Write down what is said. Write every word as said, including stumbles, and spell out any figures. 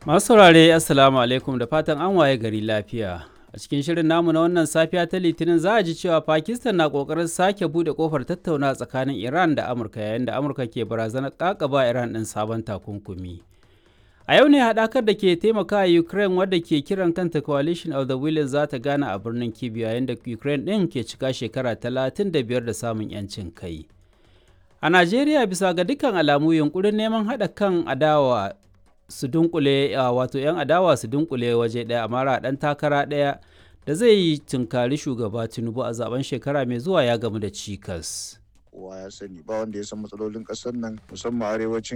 Masu saurare, Assalamu alaikum, da fatan an waye gari lafiya. A cikin shirin namu na wannan safiya ta Litinin za a ji cewa Pakistan na kokarin sake bude kofar tattauna tsakanin Iran da Amurka yayin da Amurka ke barazanar kakaba Iran ɗin sabon takunkumi. A yau ne haɗakar da ke taimaka Ukraine wadda ke kiran kanta Coalition of the Willing za ta gana a birnin Kyiv yayin da Ukraine ɗin ke cika shekara talatin da biyar da samun 'yancin kai. A Najeriya, bisa ga dukkan alamu, yunkurin neman haɗa kan adawa su dunkule, wato 'yan adawa su dunkule waje ɗaya a mara ɗan takara ɗaya da zai yi tunkari shugaba Tinubu a zaben shekara mai zuwa ya gamu da cikas. Kowa ya sani ba wanda ya san matsalolin ƙasar nan, musamman arewacin